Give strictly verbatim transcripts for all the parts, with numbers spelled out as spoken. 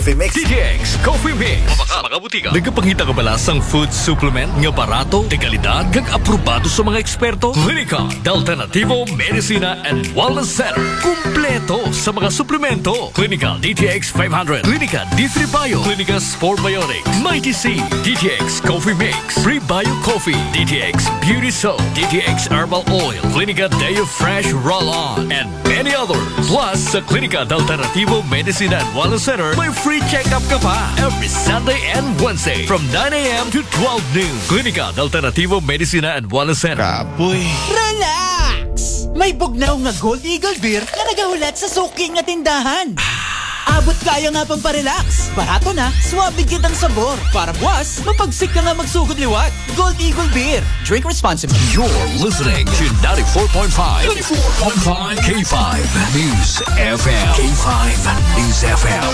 Coffee Mix. D T X Coffee Mix. Sa mga butika. Nagapangita ka ba sa food supplement nga barato, de kalidad, kag aprobado sa mga eksperto? Klinika de Alternativo Medicina and Wellness Center. Kumpleto sa mga suplemento. Klinika D T X five hundred, Klinika D three Bio, Klinika Spore Biotics, Mighty C, D T X Coffee Mix, Prebio Coffee, D T X Beauty Soap, D T X Herbal Oil, Klinika Deo Fresh Roll-On, and many others. Plus, sa Klinika de Alternativo Medicina and Wellness Center, may free check-up ka pa every Sunday and Wednesday from nine a.m. to twelve noon. Klinika de Alternativo Medicina and Wellness Center. Kapoy. Relax! May bugnaw nga Gold Eagle Beer nga nagahulat sa suki nga tindahan. Abot kaya nga pang parelax. Barato na, swabe gid ang sabor. Para buwas, mapagsik ka nga magsugod liwat. Gold Eagle Beer. Drink responsibly. You're listening to ninety-four point five, ninety-four point five K five News F M. K five News F M.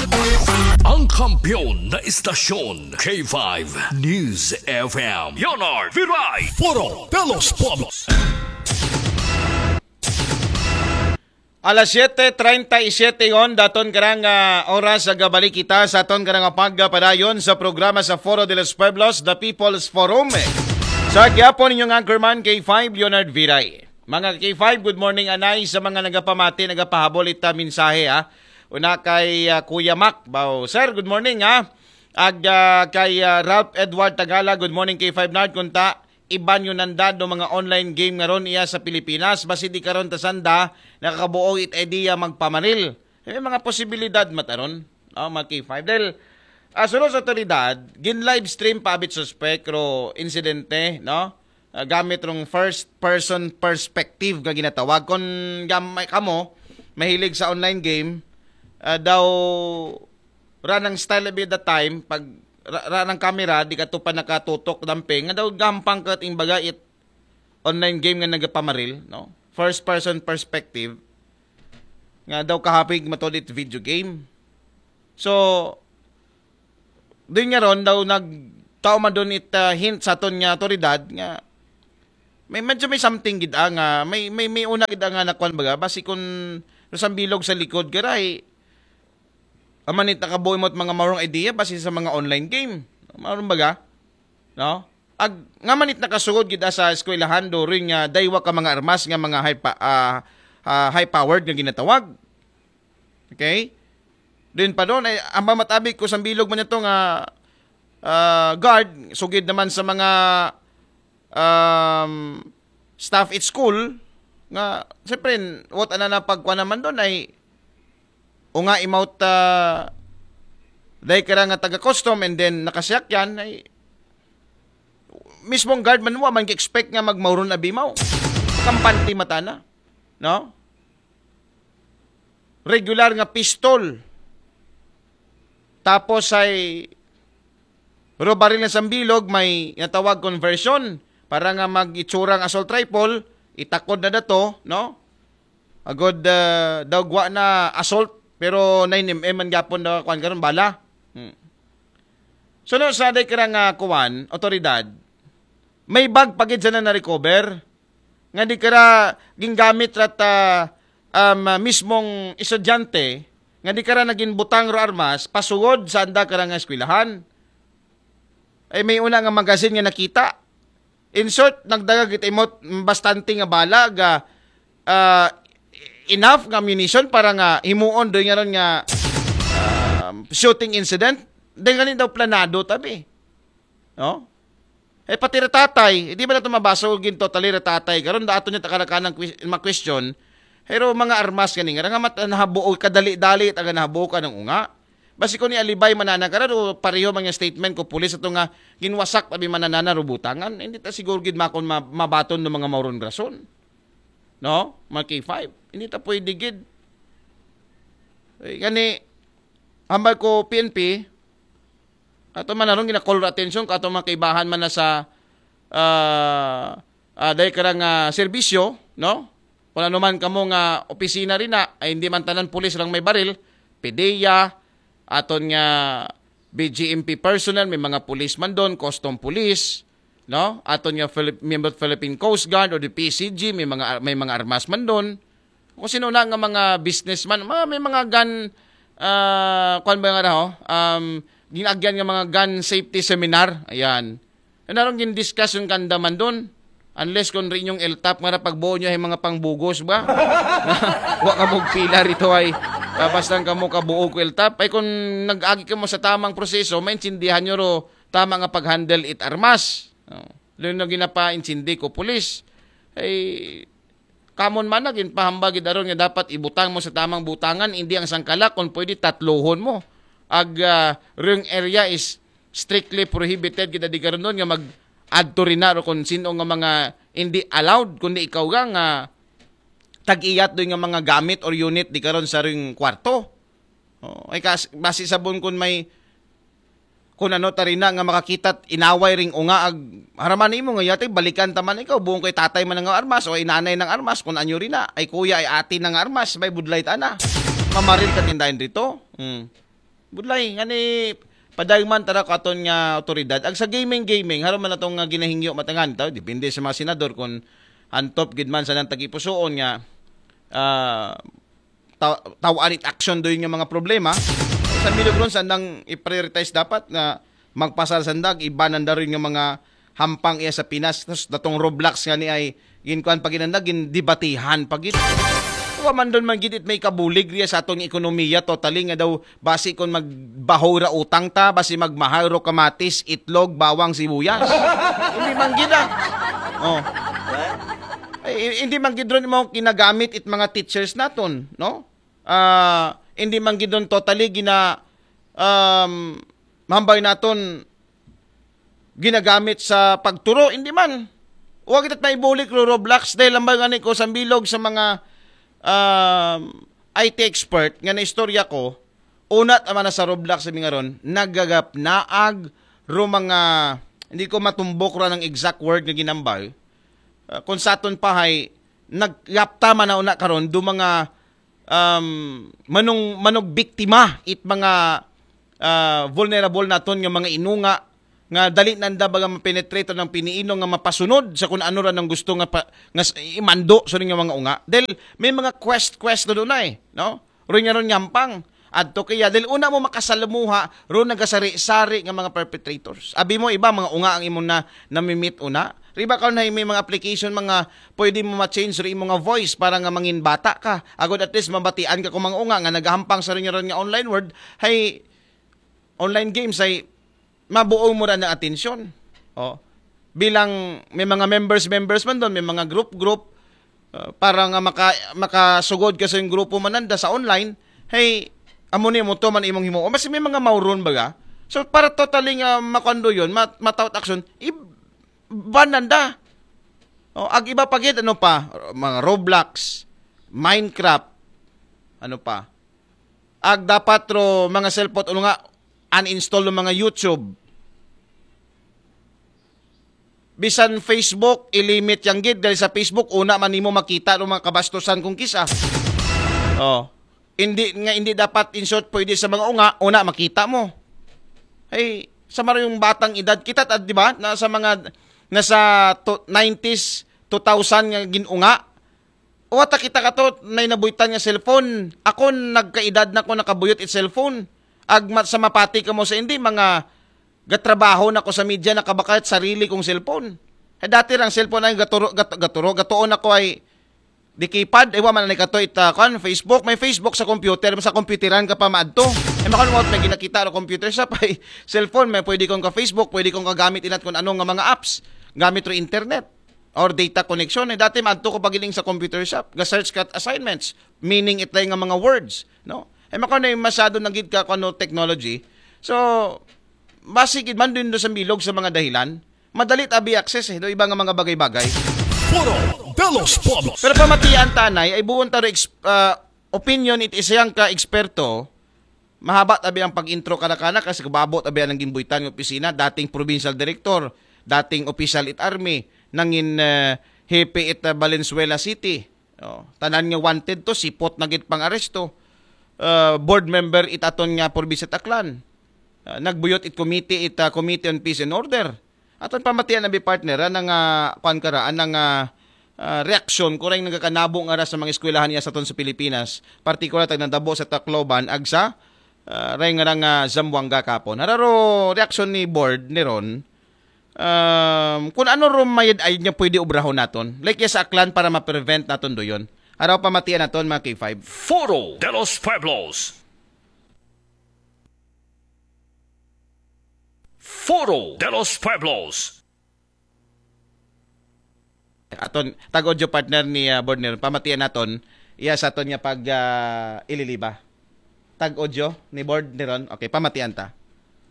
Ang kampiyon na istasyon, K five News F M. Leonard Viray. Foro de los Pueblos. Alas siyete treinta y siete yon, daton karang ah, oras sa gabalik kita sa aton karang pagpadayon sa programa sa Foro de los Pueblos, The People's Forum. Sa gihapon, inyong anchorman, K five Leonard Viray. Mga K five, good morning, anay, sa mga nagapamati, nagapahabol ita mensahe, ha. Una kay ah, Kuya Mac, bao. Sir, good morning, ha. Ag ah, kay ah, Ralph Edward Tagala, good morning, K five Nard, kunta iban yun nandad no mga online game nga ron iya sa Pilipinas, basi di karon ta sanda nakakabuo it idea magpamaril. May mga posibilidad mataron, no, mga K five. Dahil ah, suno sa otoridad, gin live stream pa abit suspek ro insidente, no? Ah, gamit rong first person perspective nga ginatawag. Kung gamay kamo, mahilig sa online game, ah, daw ranang style of the time, pag ra, ranang camera, di ka to pa nakatutok damping, nga daw gampang ka ting baga it online game nga nagapamaril, no? First person perspective, nga daw kahapig matod it video game. So, doon nga ron, daw nagtao man doon it ah, hint sa aton nga otoridad nga may medyo may something gid ah, nga may may may una gid ah, nga nakuan baga basi kun sa bilog sa likod garay amanit nakabuhi mo mga maurong idea basi sa mga online game. Maurong baga? No? Ag nga manit nakasugod gid ah, sa eskwelahan during nga daywa ka mga armas nga mga high pa, ah, ah, high powered nga ginatawag. Okay? Din pa doon ay ang matabi ko sa bilog man ito nga ah, guard sugid naman sa mga um, staff at school nga siyempre what ana na pagkuha naman doon ay o nga imount uh, dahil ka nga taga custom and then nakasiyakyan ay mismong guard man wa man expect nga magmauron abimaw kampante mata na no regular nga pistol tapos ay pero baril na sambilog may natawag conversion para nga mag-itsurang assault rifle itakod na dato no agod uh, daw gwa na assault pero nine M M man gapon daw kuan karon bala. Hmm. Suno sa day kira nga kuan, otoridad, may bag pagid sa na na-recover nga di kira gingamit rat uh, um, mismong estudyante nga di kira naging butang ro armas pasugod sa anda kira nga eskwelahan. Ay may una nga magazine nga nakita. In short, nagdagag it imot bastante nga bala ga uh, enough nga ammunition para nga himuon doy nga ron nga uh, shooting incident. Dahil ganit daw planado tabi. No? Eh pati ra tatay, hindi ba nato mabasa og gin totally ra tatay? Karon da ato niya takarakanang mga question. Pero mga armas gani nga nga mat nahabuo kadali-dali taga nahabuo ka ng unga. Basi ko ni alibay manana ka o pareho man yung statement ko pulis ato nga ginwasak tabi mananana rubutangan. Hindi ta siguro gid makon mabaton ng mga mauron rason. No? Mga K five. Hindi ta pwede gid. Eh, gani hambal ko P N P ato man naron gina-call attention ka ato mga kaibahan man na sa uh, uh, dahil karang uh, serbisyo, no? Kung ano man kamo nga opisina rin na, ay hindi man tanan pulis lang may baril, PDEA, aton nga B G M P personnel, may mga pulis man doon, custom police, no? Aton nga Philip, member Philippine Coast Guard o the P C G, may mga may mga armas man doon. Kung sino na nga mga businessman, mga, may mga gun Ah, kuan ba nga raw? Um, ginagyan nga mga gun safety seminar. Ayan. Ano ron gin-discuss yung kandaman doon? Unless kung rin yung L top nga ra pagbuo nyo ay mga pangbugos ba? Wa ka mong pila rito ay. Ah, basta ka mo kabuo ko L top. Ay kung nag-agi ka mo sa tamang proseso, maintindihan nyo ro tama nga pag-handle it armas. Oh. Lalo na ginapaintindi ko pulis. Ay, kamon man na ginpahambag gid aron nga dapat ibutang mo sa tamang butangan, hindi ang sangkala, kung pwede tatluhon mo. Ag ah, ring area is strictly prohibited kita di karon nga mag adto rin na ro kung sino nga mga hindi allowed, kundi ikaw ga nga tag-iyat doon nga mga gamit or unit di karon sa ring kwarto. Oh, ay kas, basi sabon kun may kung ano tarina nga makakita inaway ring unga ag haraman imo nga yatay balikan taman ikaw buong kay tatay man nga armas o inanay ng armas kung anyo rin na ay kuya ay ati na nga armas may budlay ta na mamaril ka tindahin dito. Hmm. Budlay nga ni padayman tara ko aton nga otoridad ag sa gaming gaming haram man atong nga ginahingyo matangan taw depende sa mga senador kung antop gid man sa nang tagipusuon nga ah, taw- tawaan it action do yung mga problema. Sa Milagron, sandang i-prioritize dapat na magpasal sandag, iba nanda rin yung mga hampang iya sa Pinas. Tapos datong Roblox nga ni ay ginkuan pa ginanda, gindibatihan pa gid. Wa man doon man gid it may kabulig riya sa atong ekonomiya totally nga daw basi kon magbaho ra utang ta, basi magmahal ro kamatis, itlog, bawang, sibuyas. Hindi man gid ah. Oh. Ay, hindi man gid ron mo kinagamit it mga teachers naton, no? Ah, hindi man gid ron totally gina um, mambay naton ginagamit sa pagturo, hindi man. Wa kita may bulik ro Roblox dahil lambay nga ni ko sa bilog sa mga um, I T expert nga naistorya ko, una tama na sa Roblox sa mga ron, nagagap naag ro mga hindi ko matumbok ra ng exact word nga ginambay. Ah, kung saton pa hay naggapta man na una karon do mga um, manong manog biktima it mga ah, vulnerable naton nga mga inunga nga dali nanda baga mapenetrate ng piniino nga mapasunod sa kung ano ra nang gusto nga pa, nga s- imando sa nga mga unga dahil may mga quest quest na doon ay no ron nga ron yampang adto kaya dahil una mo makasalamuha ron nagasari-sari nga mga perpetrators abi mo iba mga unga ang imong na namimit una riba karon hay may mga application mga pwede mo ma-change ro imong nga voice para nga mangin bata ka agod at least mabatian ka kung mga unga nga nagahampang sa ron nga ron nga online world hay online games ay mabuo mo ra ng atensyon. Oh. Bilang may mga members members man doon, may mga group group uh, para nga maka makasugod ka sa yung grupo mananda sa online, hey amo ni mo to man imong himo. O mas may mga mauron baga. So para totally nga makondo yun, mat mataot action, i-ban nanda. Oh, ag iba pa gid ano pa, mga Roblox, Minecraft, ano pa. Ag dapat ro mga cellphone ulo nga uninstall ng mga YouTube. Bisan Facebook, ilimit yang gid dahil sa Facebook una man nimo makita ng mga kabastusan kung kisa. Oh. Hindi nga hindi dapat in short pwede sa mga unga, una makita mo. Ay, sa mara yung batang edad kita, ta- di ba? Na sa mga nasa to, nineties, two thousand nga ginunga. Wa ta kita kato nay nabuhitan nga cellphone. Ako nagkaedad na ko nakabuyot it cellphone. Ag ma- sa mapati ka mo sa hindi mga gatrabaho na ko sa media nakabakayat sarili kong cellphone. Eh, dati rang cellphone ay gaturo, gat, gaturo, gatuon ako ay di keypad, eh, wa man ni kato ita kan Facebook, may Facebook sa computer, sa computeran ka pa maadto. Eh, makan mo may ginakita ro computer sa pay cellphone, may pwede kong ka Facebook, pwede kong kagamit inat kung ano nga mga apps gamit ro internet or data connection. Eh, dati maadto ko pagiling sa computer shop, ga-search ka assignments, meaning itlay nga mga words, no? Eh, mako na yung masyado na gid ka kung ano technology. So, basi gid man din do sa bilog sa mga dahilan, madali ta abi access eh, do iba nga mga bagay-bagay. Foro de los Pueblos. Pero pamatian tanay ay buon taro ex- ah, opinion it isayang ka eksperto, mahaba tabi ang pag-intro kada kana kasi kababo tabi ang ginbuhitan ng opisina, dating provincial director, dating official it army, nangin eh, hepe it ah, Valenzuela City. Oh, tanan nga wanted to, sipot na gid pang aresto. Ah, board member it aton nga probinsya it Aklan. Ah, nagbuyot it committee it ah, Committee on Peace and Order. Aton pamatian abi partner ana nga kuan kara ana nga ah, reaksyon kurang nagakanabo nga ra sa mga eskwelahan niya sa aton sa Pilipinas, partikular tag nadabo sa Tacloban ag sa Ah, ray nga nga Zamboanga kapon. Hararo reaksyon ni board ni Ron. Um, kung ano ro mayad ay niya pwede obrahon naton. Like, yes, aklan para ma-prevent naton doyon. Araw pamatian naton, mga K five. Foro de los Pueblos. Foro de los Pueblos. Aton, tag-audio partner ni, ah, board ni Ron. Pamatian naton, iya sa aton nga pag, ah, ililiba. Tag-audio ni board ni Ron. Okay, pamatian ta.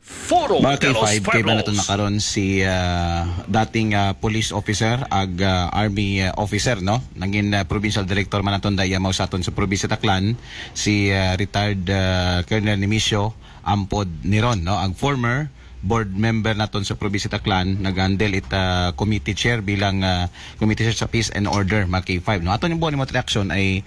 Foro Mga de los K five, kay ba naton Pueblos. Makaron si, ah, dating, ah, police officer, ag, ah, army, ah, officer, no? Nangin, ah, provincial director man naton daya mao sa aton sa probinsya Taclan, si, ah, retired, ah, Colonel Nemesio Ampod Niron, no? Ang former board member naton sa probinsya Taclan, nag-handle it, ah, committee chair bilang, ah, committee chair sa peace and order, mga K five, no? Aton yung buwan mo reaction ay,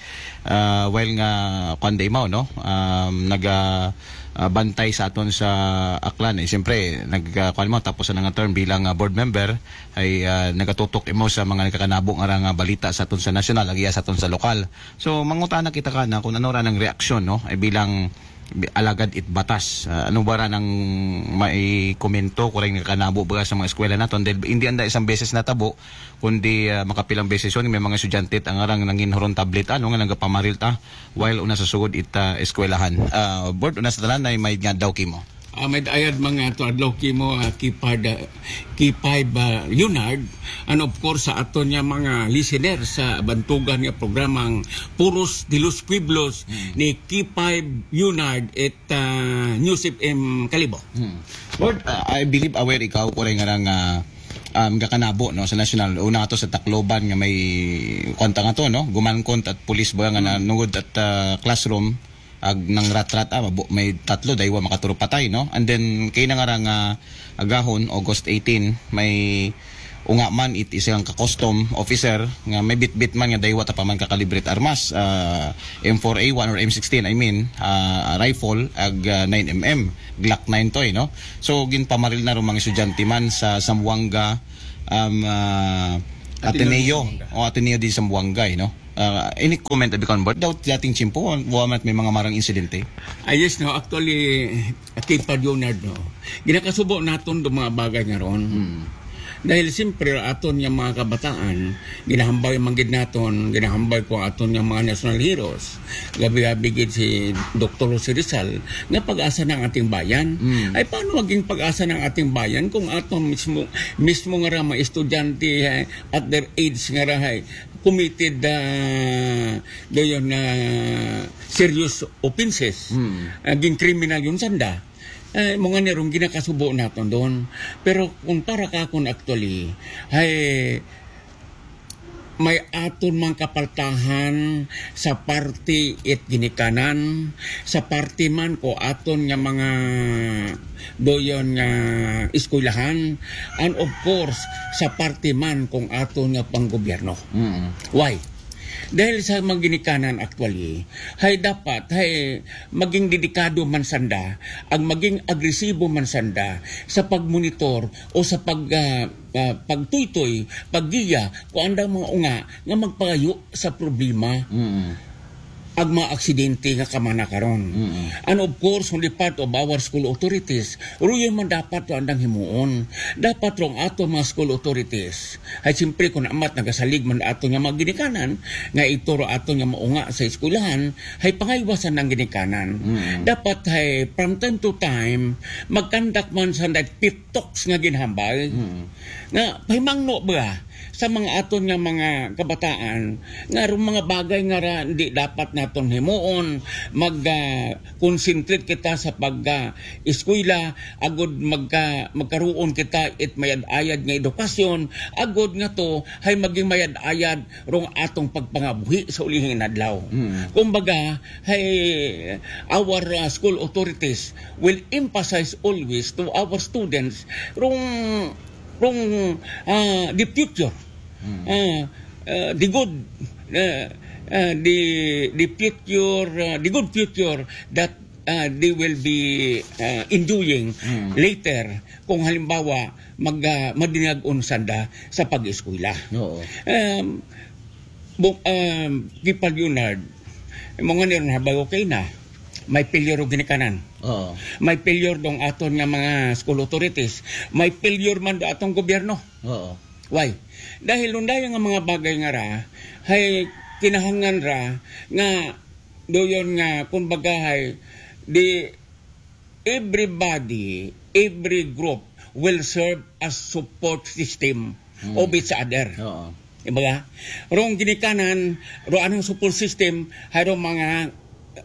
ah, while nga kuan day mao, no? Um, naga ah, bantay sa aton sa Aklan. Eh, siyempre, nag, ah, kuwan mo, tapos na nga term bilang, ah, board member, ay, ah, nagatutok imo sa mga nagkakanabo nga ra nga balita sa aton sa nasyonal, agiya sa aton sa lokal. So, mangutana kita kana kung ano ra nang reaksyon, no? Ay bilang bi- alagad it batas. Ah, ano ba ra nang maikomento kung ray nagkakanabo ba sa mga eskwela naton? Dahil hindi anda isang beses natabo, kundi, ah, makapilang beses yun, may mga estudyante at ang arang nangin huron tablet, ano nga nagapamaril ta, while una sa sugod it, ah, eskwelahan. Ah, board, una sa tanan ay may nga daw kimo. Ah, may ayad mga to adlaw kimo, ah, Kipad, ah, Kipay ba, Leonard, and of course sa aton nga mga listener sa bantugan nga programang Puros de los Pueblos Hmm. ni Kipay Leonard at, ah, News F M Kalibo. Hmm. Board, ah, I believe aware ikaw ko rin nga nga, um, gakanabo, no, sa national. Una ato sa Tacloban nga may kwanta nga to, no, gumankon at pulis ba nga nanungod at, ah, classroom ag nang rat-rat, ah, mabo- may tatlo daywa makaturo patay, no? And then kay na nga ra nga agahon, August eighteen, may unga man it isang ka-custom officer nga may bitbit man nga daywa ta pa man kakalibre it armas, ah, M four A one or M sixteen, I mean, ah, rifle ag, ah, nine M M, Glock nine to, eh, no? So ginpamaril na ro mga estudyante man sa Zamboanga, um, ah, Ateneo Ateneo, de Zamboanga. O Ateneo de Zamboanga, eh, no? Ah, any comment abi kon board? Daw dating tiyempo, wa man may mga marang insidente. Ah, yes, no. Actually, Kipad Leonard, no. Ginakasubo naton do mga bagay nga ron. Hmm. Dahil siyempre, aton nga mga kabataan, ginahambay man gid naton, ginahambay ko aton nga mga national heroes. Gabi-gabi gid si Doktor Jose Rizal, nga pag-asa ng ating bayan. Hmm. Ay, paano maging pag-asa ng ating bayan kung aton mismo, mismo nga ra mga estudyante, eh, at their age nga ra, eh, committed, ah, doon na serious offenses, Hmm. naging criminal yun sanda. Eh, mga nirong ginakasubo naton doon. Pero kung para ka akon actually, ay may aton mang kapaltahan sa party it ginikanan, sa party man ko aton nga mga doyon nga eskwelahan, and of course, sa party man kung aton nga panggobyerno. Mm. Why? Dahil sa mga ginikanan actually, hay dapat, hay maging dedikado man sanda, ang maging agresibo man sanda sa pagmonitor o sa pag, ah, ah, pagtuytoy, paggiya, kung andang mga unga nga magpagayo sa problema. Mm. Ang mga aksidente nga kamana karon. Mm. And of course, on the part of our school authorities, ruyon man dapat to andang himuon. Dapat rong ato mga school authorities. Hay siyempre, kung amat nagasalig man ato nga mga ginikanan, nga ituro ato nga maunga sa eskwelahan, hay pangaywasan ng ginikanan. Mm. Dapat hay, from time to time, magkandak man sa pep talks nga ginhambal. Mm. Nga, pahimangno ba sa mga aton nga mga kabataan, nga rong mga bagay nga ra, di dapat naton himuon, mag, ah, concentrate kita sa pag, ah, eskwela, agud magka-, magkaroon kita it mayad-ayad nga edukasyon, agud nga to, hay maging mayad-ayad rong atong pagpangabuhi sa ulihing adlaw. Mm. Kumbaga, hay our, ah, school authorities will emphasize always to our students rong, rong, ah, the future. Mm. Ah, ah, the good, ah, ah, the, the future, ah, the good future that, ah, they will be, ah, enjoying Mm. later kung halimbawa mag, ah, madinag-on sanda sa pag-eskwela. Oo. Um, bu-, um, Kipad Leonard, mga niron habay okay na. may failure og ginikanan. Oo. May failure dong aton nga mga school authorities. May failure man do atong gobyerno. Oo. Why? Dahil nung dahil nga mga bagay nga ra, hay kinahanglan ra nga doon nga, kumbaga, hay di everybody, every group will serve as support system Hmm. of each other. Oo. Diba? Rong ginikanan, ro anong support system, hay rong mga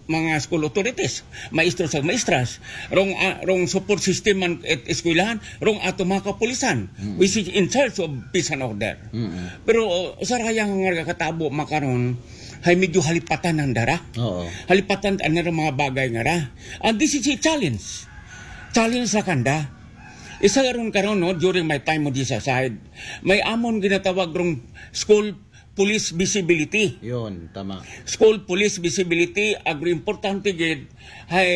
mga school authorities, maestro sa maestras, rong ah, rong support system man at eskwelahan, rong ato mga kapulisan, Hmm. which is in charge of peace and order. Mm. Pero uh, sa raya nga katabo makaron, hay medyo halipatan ang dara. Oo. Halipatan ang dara mga bagay nga ra. And this is a challenge. Challenge sa kanda. Isa ron karon, no, during my time mo di sa side, may amon ginatawag rong school police visibility. Yun, tama. School police visibility, agro importante gid, hay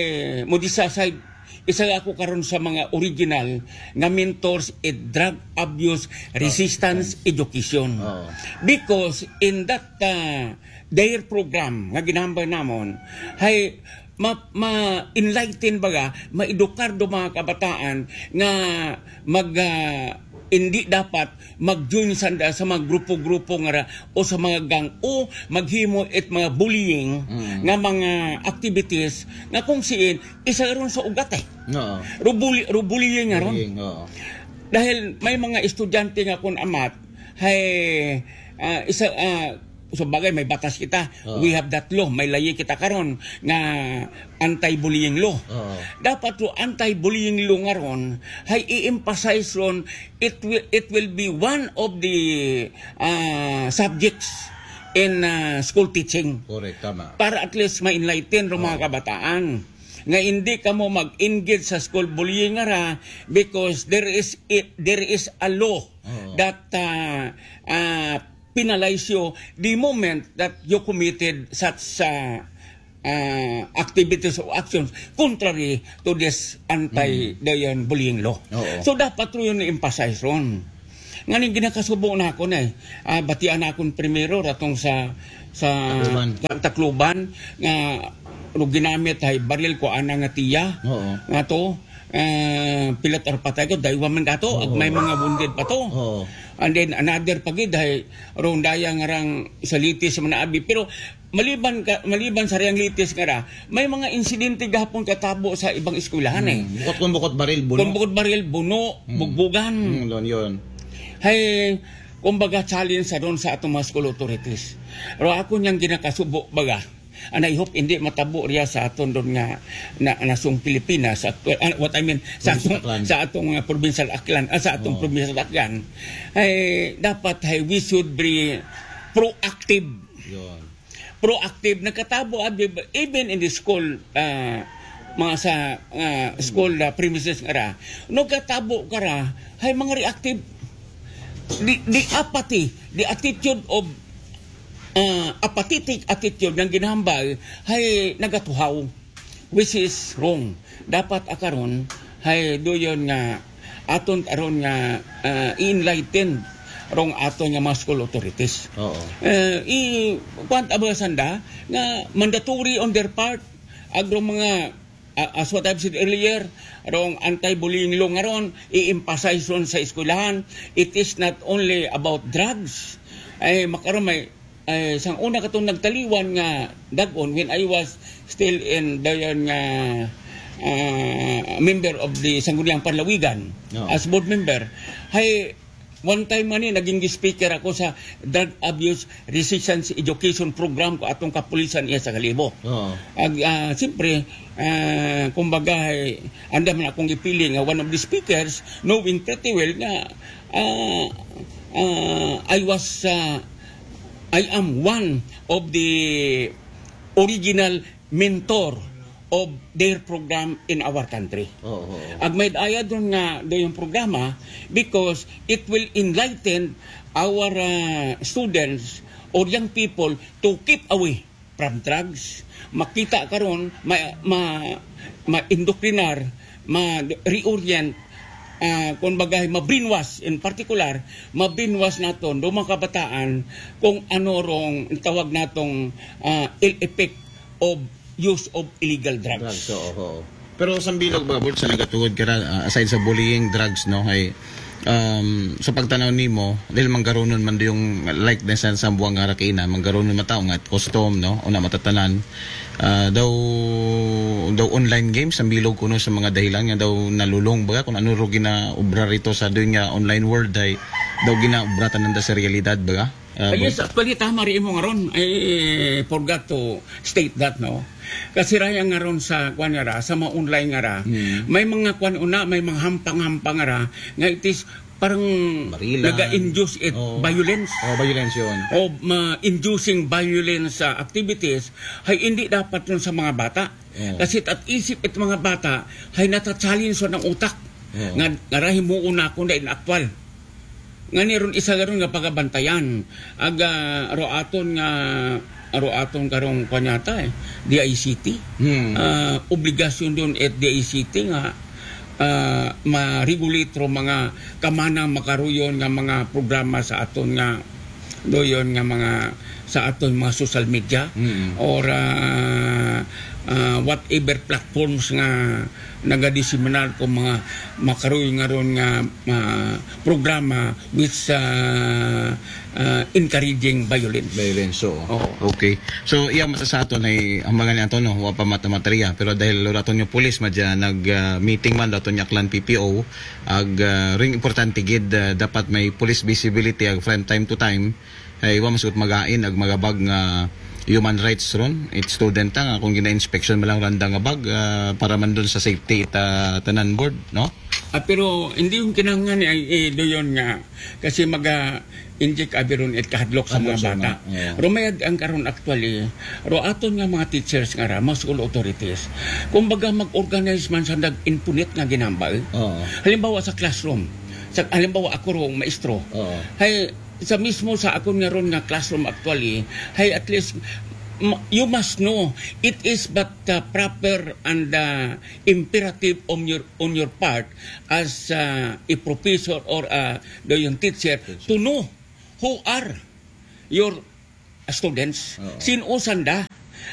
mo di sa side, isa ako karon sa mga original nga mentors in drug abuse resistance education. Oo. Because in that uh, their program nga ginambay namon, hay ma, ma enlighten baga, maedukar do mga kabataan nga mag ah, hindi dapat mag-join sa, sa mga grupo-grupo nga ra, o sa mga gang o maghimo it mga bullying Mm. nga mga activities nga kung siin isa ron sa ugat eh. Oo. Rubuli, rubullying nga ron. Bullying, oo. Dahil may mga estudyante nga kun amat hay ah, isa ah, sa bagay may batas kita. Oo. We have that law. May layi kita karon nga anti-bullying law. Oo. Dapat to anti-bullying law nga ron hay i-emphasize ron it will, it will be one of the ah, subjects in ah, school teaching Correct, tama. para at least ma-enlighten ro mga Oo. Kabataan nga hindi kamo mag-engage sa school bullying nga ra because there is it, there is a law Oo. that ah, ah, penalize you the moment that you committed such ah, ah, activities or actions contrary to this anti dayon bullying law. Oo. So dapat ro yun i-emphasize ron. Nga ning ginakasubo na ako na eh. Ah, batian na akong primero ratong sa sa Tacloban. Tacloban nga ro ginamit hay baril ko ana nga tiya Oo. nga to ah, pilat ar patay ko daywa man kato ag may mga wounded pa to. Oo. And then another pa gid hay rong daya nga rang sa litis man abi pero maliban ka, maliban sa riyang litis nga ra may mga insidente gahapon katabo sa ibang eskwelahan eh. Hmm. Bukod kung bukod baril, buno. Kung bukod baril, buno, Hmm. bugbugan. Hmm, yun, yun. Hay, kumbaga challenge sa ron sa atong mga school authorities. Pero ako niyang ginakasubo baga. And I hope hindi matabo riya sa aton doon nga na, nasong Pilipinas, sa, ah, what I mean, sa Provincial atong, Aklan. Sa atong uh, provincial Aklan, ah, sa atong Oo. provincial Aklan. Ay, dapat ay we should be proactive. Yun. Proactive, nagkatabo abi, even in the school, ah, mga sa ah, school ah, premises nga ra, nagkatabo ka ra, hay mga reactive. The, the apathy, the attitude of ah, apathetic attitude nga ginahambal, hay nagatuhaw, which is wrong. Dapat akaron hay doon nga aton aron nga ah, i-enlighten rong aton nga mga school authorities. Oo. Eh, i kuwan ta ba sanda nga mandatory on their part agro mga ah, as what I've said earlier, rong anti-bullying law nga ron, i-emphasize ron sa eskwelahan. It is not only about drugs. Ay makaron may ay, sang una katong nagtaliwan nga dagon when I was still in dayon nga ah, member of the Sangguniang Panlawigan Oo. as board member. Hay one time man ni naging speaker ako sa drug abuse resistance education program ko atong kapulisan iya sa Kalibo. Oo. Ag ah, siyempre ah, kumbaga ay anda man akong ipili nga one of the speakers knowing pretty well nga ah, ah, I was ah, I am one of the original mentor of their program in our country. Oo. Oo. Ag may ayad ron nga do yung programa because it will enlighten our uh, students or young people to keep away from drugs. Makita karon ma ma ma-indoctrinar, ma-reorient ah, kung bagay ma-brainwash in particular, ma-brainwash naton do mga kabataan kung ano rong tawag natong ah, ill effect of use of illegal drugs. Drugs, oo, oo. Pero sa bilog ba, Bert, sa nagatuod ka ra, ah, aside sa bullying, drugs, no, ay, um, sa pagtanaw nimo, dahil manggarunon man do yung like na sa, sa buwang nga rakina, manggarunon mataw nga custom, no, o na matatanan, ah, daw, daw online games, ang bilog kuno sa mga dahilan nga daw nalulong, baga, kung ano ro ginaobra rito sa doon nga online world, ay daw ginaobra tanan da sa realidad, baga? Ah, Ah, yes, actually, tama rin mo nga ron. I forgot to state that, no? Kasi raya nga ron sa, kwan nga ra, sa mga online nga ra, may mga kwan una, may mga hampang-hampang nga ra, nga it is parang Barilan. Naga-induce it Oo. violence. Oh, violence yun. O ma-inducing violence uh, activities, ay hindi dapat yun sa mga bata. Oo. Kasi at isip it mga bata, ay nata-challenge yun ang utak. Oo. Nga, nga rahi mo una kung na inaktwal. Nga ni ron isa ron nga pagabantayan. Aga, ro aton nga, ro aton karong kanyata eh, D I C T. Hmm. Ah, obligasyon doon at D I C T nga ah, ma-regulate ro mga kamana makaruyon nga mga programa sa aton nga doyon nga mga sa aton mga social media Mm. or ah, ah, whatever platforms nga nagadiseminar ko mga makaruyon nga ron nga ah, programa which ah, ah, encouraging violence. Violence, oo. Oo. Okay. So, iya mata sa aton ay hambangan ni ato, no, wa pa mata-, materia, pero dahil wala aton yung pulis madya nag ah, meeting man aton yung Aklan P P O, ag ah, ring importante gid ah, dapat may police visibility ag from time to time ay wa masukot magain ag magabag nga human rights ron it student ta nga kung gina-inspection man lang randa nga bag ah, para man dun sa safety ita tanan board, no? Ah, pero hindi yung kinahanglan ni ay eh, doyon nga kasi maga inject abi ron it kahadlok sa mga Kahadlok sa bata. mga, yeah. Rumayag ang karon actually, ro aton nga mga teachers nga ra, mga school authorities, kumbaga mag-organize man sa nag-impunit nga ginambal. Oo. Halimbawa sa classroom, sa halimbawa ako rong maestro, Oo. hay sa mismo sa akon nga ron nga classroom actually, hay at least ma- you must know it is but the proper and the imperative on your on your part as uh, a professor or uh, the young teacher to know who are your students, Oo. sin-o sanda,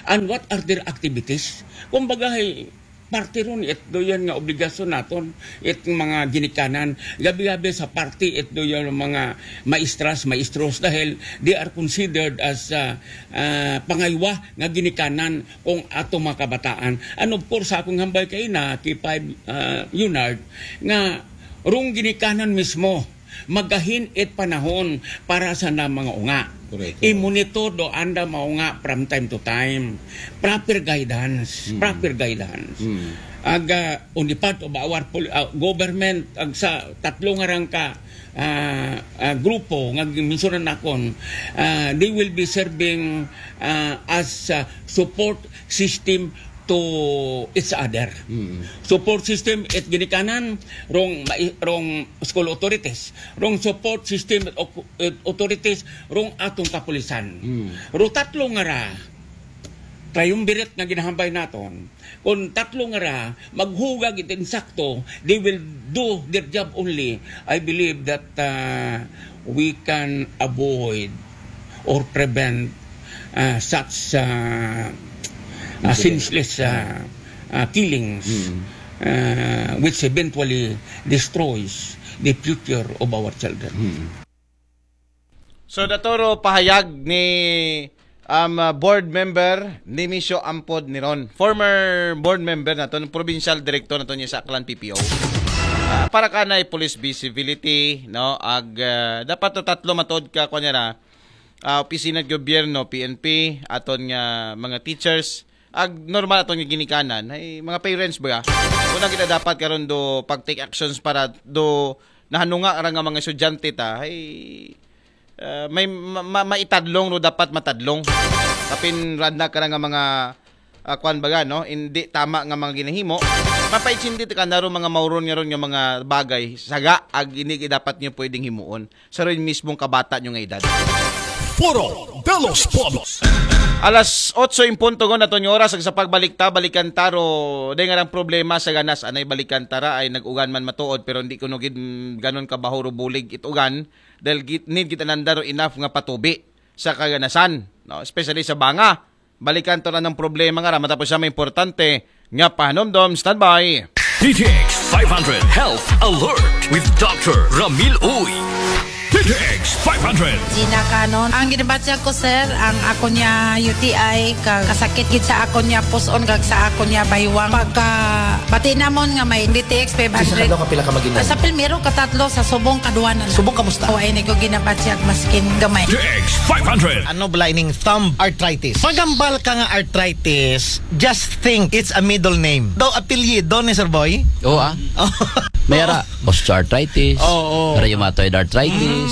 and what are their activities. Kumbaga, hay, parte ron it doyan nga obligasyon naton it mga ginikanan gabi-gabi sa parte it doyan mga maestras maestros dahil they are considered as uh, uh, pangaywa nga ginikanan kung ato mga kabataan. And of course, sa akong hambal kay na kay five uh, Leonard nga rong ginikanan mismo magahin it panahon para sa na mga unga. Correct. I-monitor do anda mga unga from time to time. Proper guidance. Proper guidance. Mm. Aga on the part of our pol- uh, government ag sa tatlo nga rang ka ah, ah, grupo nga gimensionan nakon, ah, they will be serving ah, as ah, support system to each other. Mm. Support system it ginikanan rong mai- rong school authorities, rong support system it au- it authorities rong atong kapulisan. Mm. Ro tatlo nga ra triumvirate nga ginahambay naton, kung tatlo nga ra maghugag it insakto, they will do their job only. I believe that uh, we can avoid or prevent uh, such uh, uh, senseless uh, uh, killings uh, which eventually destroys the future of our children. So, datoro pahayag ni um, uh, board member Nimisio Ampod Niron. Former board member naton, provincial director naton niya sa Aklan P P O. Ah, para kanay police visibility, no? Ag ah, dapat to tatlo matod ka kunya ra ah, opisina sa gobyerno, P N P, aton nga mga teachers, ag normal aton nga ginikanan, ay mga parents ba? Una kita dapat karon do pag take actions para do nahanunga ra nga mga estudyante ta, ay ah, may ma- ma- maitadlong ro dapat matadlong. Kapin randa ka ra nga mga ah, kwan baga, no? Hindi tama nga mga ginahimo. Mapaitsindi ka na ro mga mauron nga ron nga mga bagay. Saga, ag hindi dapat nyo pwedeng himuon. Sa rin mismong kabata nyo nga edad. Foro de los Pueblos. Alas otso in punto gon aton oras ag sa pagbalik ta balikan ta ro day nga lang problema sa ganas anay balikan ta ra ay nag-ugan man matuod pero hindi kuno gid mm, ganon kabaho ro bulig it ugan dahil git, need gid ananda ro enough nga patubi sa kaganasan, no? Especially sa banga. Balikan to na ng problema nga ra, matapos siya may importante nga pahanumdom. Standby. D T X five hundred Health Alert with Doctor Ramil Uy. D T X five hundred. Gina Canon. Ang ginabatyag ko, sir, ang ako niya U T I, kag kasakit gid sa ako niya puson, kag sa ako niya baywang. Pagka bati namon nga may D T X five hundred. Sa kadlaw ka pila ka mag-inom? Sa pilmero, katatlo, sa subong, kaduwa na lang. Subong, kamusta? O, ay, ni ko ginabatyag, maskin gamay. D T X five hundred. Ano bala ining thumb arthritis? Pagambal ka nga arthritis, just think it's a middle name. Daw apelyido ni Sir Boy? Oo, ah. May ara osteoarthritis, Oo. Rheumatoid arthritis,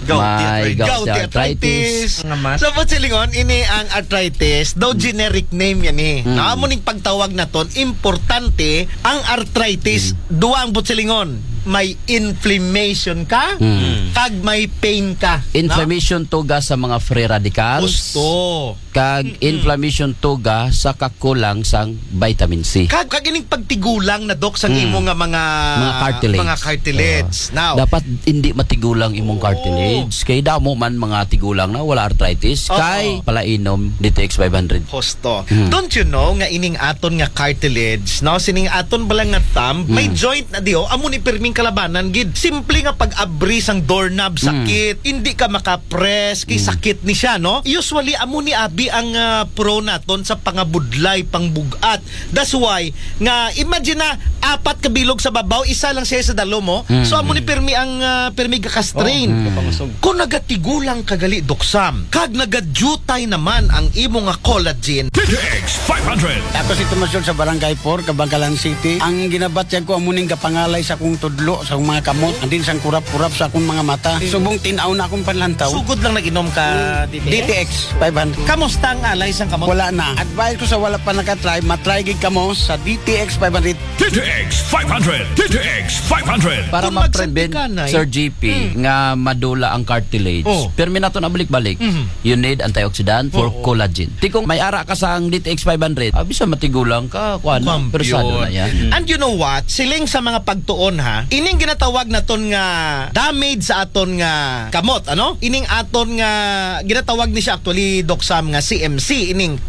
Gouty may arthritis. gouty Gouty arthritis. arthritis. Nga mas. So, buot silingon, ini ang arthritis, daw generic name yan eh. Mm. Amo ning pagtawag naton, importante ang arthritis, duwa ang buot silingon. May inflammation ka, Mm. kag may pain ka. Inflammation, tuga sa mga free radicals. Gusto. Kag inflammation, tuga sa kakulang sang vitamin C. Kag, kag ining pagtigulang na, Doc, sang Mm. imo nga mga Mga cartilage. Mga cartilage. Oo. Now, Dapat hindi matigulang imong Oo. cartilage. Kay damo man mga tigulang na wala arthritis. Oo. Kay palainom D T X five hundred. Hosto. Hmm. Don't you know nga ining aton nga cartilage, no? Sining aton bala nga thumb, may Hmm. joint na diyo, amo ni pirming kalabanan gid. Simple nga pag-abri sang doorknob, Hmm. sakit, hindi ka makapress, kay Hmm. sakit ni siya, no? Usually, amo ni abi ang ah, pro naton sa pangabudlay, pangbug-at. That's why, nga imagine na, apat ka bilog sa babaw, isa lang siya sa dalom mo. Hmm. So, amo ni pirmi ang ah, pirmi gaka-strain. Hmm. Kung nagatigulang ka gali, Doc Sam, kag nagadutay naman ang imo nga collagen. D T X five hundred. Ako si Tomas Yun sa Barangay four, Kabangkalan City. Ang ginabatyag ko, amuning gapangalay sa akong tudlo, sa akong mga kamot, andin sang kurap-kurap sa akong mga mata. Subong tinaw na akong panlantaw. Sugod lang nag-inom ka, D T X five hundred. Kamusta ang alay sang kamot? Wala na. Advice ko sa wala pa nakatry, matry gid kamo sa D T X five hundred. D T X five hundred. D T X five hundred. Para Kung ma-prevent, magsantikanay. Sir G P, nga madula ang cartilage, Oh. pirmi nato na balik-balik. Mhm. You need antioxidant for Oo. collagen. Ti kung may ara ka sang D T X five hundred, ah, bisa matigulang ka, kuan, Kwam, persado yun. na yan. And you know what? Siling sa mga pagtuon, ha, ining ginatawag naton nga damage sa aton nga kamot, ano? Ining aton nga ginatawag ni siya actually, Doc Sam, nga C M C, ining